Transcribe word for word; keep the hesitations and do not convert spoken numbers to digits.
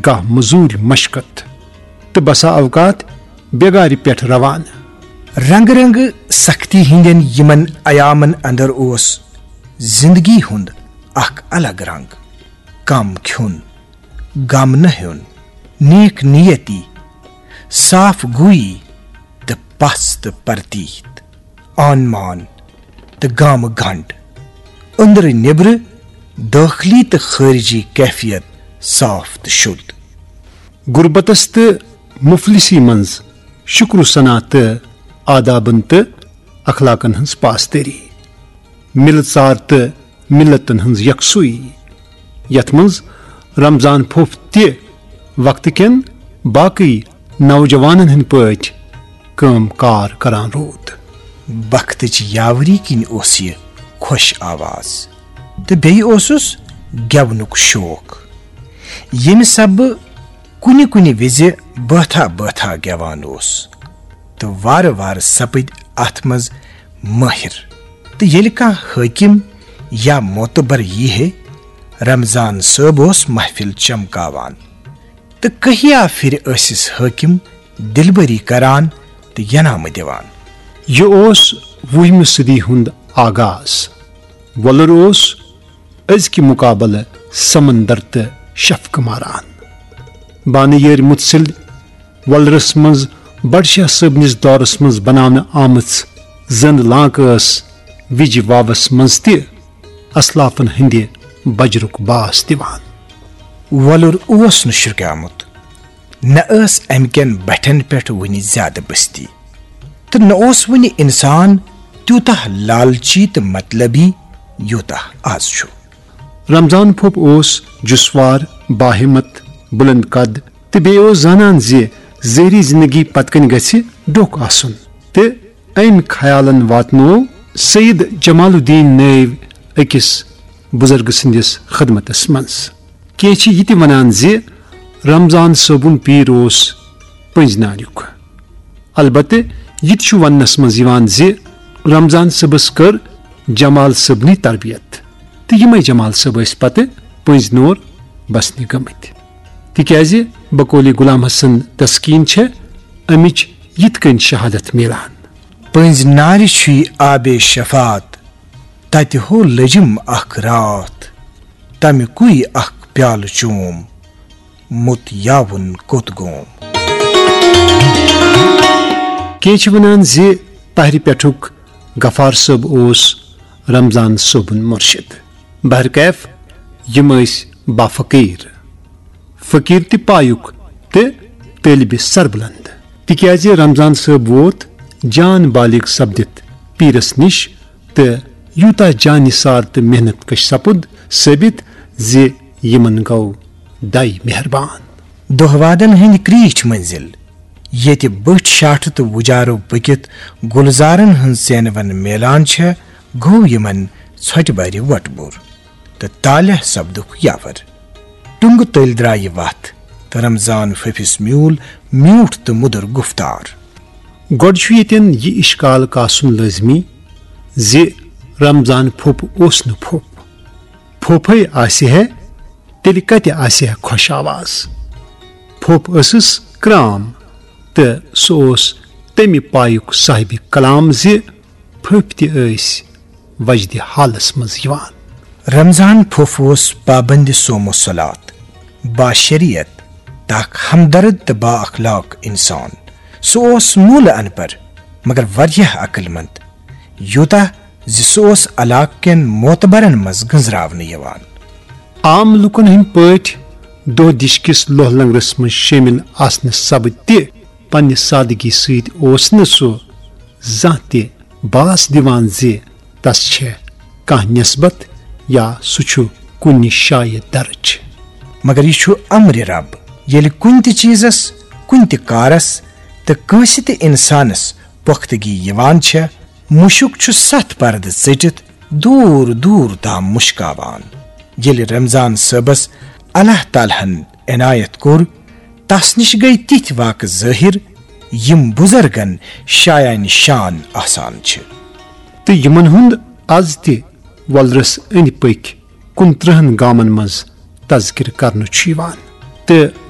گاہ مزوٗرۍ مشقت تہٕ بسا اوقات بیگارِ پٮ۪ٹھ روانہٕ۔ رنگہٕ رنگہٕ سختی ہٕنٛدٮ۪ن یِمن ایامن اندر اوس زندگی ہُنٛد اکھ الگ رنگ۔ کم کھیوٚن، غم نہ ہیوٚن، نیک نیتی، صاف گویی تہٕ پژھ تہٕ پرتیت، آن مان تہٕ گامہٕ گنڈ، أنٛدرٕ نیٚبرٕ، دٲخلی تہٕ خٲرجی کیفیت صاف تہٕ شوٚد۔ غربتس تہٕ مفلسی منٛز شکر و ثنا تہٕ آدابن تہٕ اخلاقن ہٕنٛز پاسدٲری، مِلہٕ ژار تہٕ مِلتن ہٕنٛز یکسوئی، یتھ منٛز رمضان پھوٚپھ تہِ وقتہٕ کٮ۪ن باقٕے نوجوانن ہٕنٛدۍ پٲٹھۍ کٲم کار کران روٗد۔ بختٕچ یاوری کِنۍ اوس یہِ خۄش آواز تہٕ بیٚیہِ اوسُس گٮ۪ونُک شوق، ییٚمہِ سببہٕ کُنہِ کُنہِ وِزِ بٲتھا بٲتھا گٮ۪وان اوس تہٕ وارٕ وارٕ سپٕدۍ اتھ منٛز مٲہِر۔ تہٕ ییٚلہِ کانٛہہ حٲکِم یا معتبر یی ہے، رمضان صٲب اوس محفل چمکاوان۔ تہٕ کہیا پھِرِ ٲسِس حٲکِم دِلبری کران تہٕ ینامہٕ دِوان۔ یہِ اوس وُہمہِ صدی ہُنٛد آغاز۔ وۄلُر اوس أزکہِ مُقابلہٕ سمندر تہٕ شفقہٕ ماران۔ بانہٕ یٲرۍ مُتسِل وۄلرس منٛز بڈشاہ صٲبنِس دورس منٛز بناونہٕ آمٕژ زٔنٛد لانکہٕ ٲس وِجہِ واوس منٛز تہِ اسلافن ہٕنٛدِ بجرُک باس دِوان۔ وۄلُر اوس نہٕ شرٛکیومُت، نہ ٲس امہِ کٮ۪ن بٹھٮ۪ن پٮ۪ٹھ وُنہِ زیادٕ بستی، تہٕ نہ اوس وُنہِ انسان تیوٗتاہ لالچی تہٕ مطلبی یوٗتاہ از چھُ۔ رمضان پھوٚپ اوس جسوار، باہمت، بلند قد تہٕ بیٚیہِ اوس زانان زِ ظٲہری زندگی پتہٕ کنہِ گژھِ ڈوکھ آسُن، تہٕ أمۍ خیالن واتنوو سید جمال الدین نٲوۍ أکِس بُزرگہٕ سٕنٛدِس خدمتس منٛز۔ کینٛہہ چھِ یہِ تہِ ونان زِ رمضان صٲبُن پیٖر اوس پٔنٛزۍ ناریُک۔ البتہٕ یہِ تہِ چھُ وننس منٛز یِوان زِ رمضان صٲبس کٔر جمال صٲبنٕے تربیت، تہٕ یِمے جمال صٲب ٲسۍ پتہٕ پٔنٛزۍ نور بسنہِ گٔمٕتۍ۔ تِکیازِ بقولِ غلام حسن تسکین چھےٚ امِچ یِتھ کٔنۍ شہادت میلان۔ پٔنٛزۍ نارِ چھُے آبِ شفاعت، تتہِ ہو لٔجِم اکھ راتھ، تمہِ کُے اکھ پیالہٕ چوم، مُت یاوُن کوٚت گوم۔ کینٛہہ چھِ ونان زِ پہرِ پٮ۪ٹھُک غفار صٲب اوس رمضان صٲبُن مُرشِد۔ بہرکیف، یِم ٲسۍ بافقیٖر، فقیٖر تہِ پایُک تہٕ طٲلبِ سربلند، تِکیازِ رمضان صٲب ووت جان بالغ سپدِتھ پیٖرس نِش، تہٕ یوٗتاہ جان نثار تہٕ محنت کش سپُد ثٲبت زِ یِمن گوٚو دَے مہربان۔ دۄہ وادن ہٕنٛدۍ کریٖٹھۍ منزل، ییٚتہِ بٔٹھۍ شاٹھٕ تہٕ وُجارو پٔکِتھ گُلزارن ہٕنٛز ژینوَن میلان چھےٚ، گوٚو یِمن ژھۄٹہِ بَرِ وۄٹہٕ بوٚر تہٕ طالع سپدُکھ یاور۔ ٹُنگہٕ تٔلۍ درٛایہِ وَتھ تہٕ رمضان پھٔپھِس میوٗل میوٗٹھ تہٕ مُدُر گُفتار۔ گۄڈٕ چھُ ییٚتٮ۪ن یہِ اِشکال کاسُن لٲزمی زِ رمضان پھوٚپ اوس نہٕ پھوٚپ۔ پھوٚپھے آسہِ ہے، تیٚلہِ کتہِ آسہِ ہے خۄش آواز؟ پھوٚپ ٲسٕس کرام تہٕ سُہ اوس تمہِ پایُک صاحبِ کلام زِ پھٔپھۍ تہِ ٲسۍ وجدِ حالس منٛز یِوان۔ رمضان پھوٚپھ اوس پابندِ صوم و صلات، باشریعت، تہٕ اکھ ہمدرد تہٕ با اخلاق انسان۔ سُہ اوس موٗلہٕ ان پڑھ، مگر واریاہ عقل مند، یوٗتاہ زِ سُہ اوس علاقہٕ کٮ۪ن معتبرن منٛز گٔنزراونہٕ یِوان۔ عام لوٗکن ہٕنٛدۍ پٲٹھۍ دۄہ دِش کِس لوہ لنگرس منٛز شٲمِل آسنہٕ سبہٕ تہِ پننہِ سادگی سۭتۍ اوس نہٕ سُہ زانٛہہ تہِ باس دِوان زِ تس چھےٚ کانٛہہ نسبت یا سُہ چھُ کُنہِ جایہِ درٕج۔ مگر یہِ چھُ امرِ رب، ییٚلہِ کُنہِ تہِ چیٖزس، کُنہِ تہِ کارس تہٕ کٲنٛسہِ تہِ انسانس پۄختگی یِوان چھےٚ، مُشُک چھُ ستھ پردٕ ژٔٹِتھ دوٗر دوٗر تام مُشکاوان۔ ییٚلہِ رمضان صٲبس اللہ تعالیٰ ہن عنایت کوٚر، تس نِش گٔیہِ تِتھۍ واقعہٕ ظٲہِر، یِم بُزرگن شایان شان آسان چھِ۔ تہٕ یِمن ہُنٛد از تہِ وۄلرس أنٛدۍ پٔکۍ کُنترٕہن گامن منٛز تذکرٕ کرنہٕ چھُ یِوان۔ تہٕ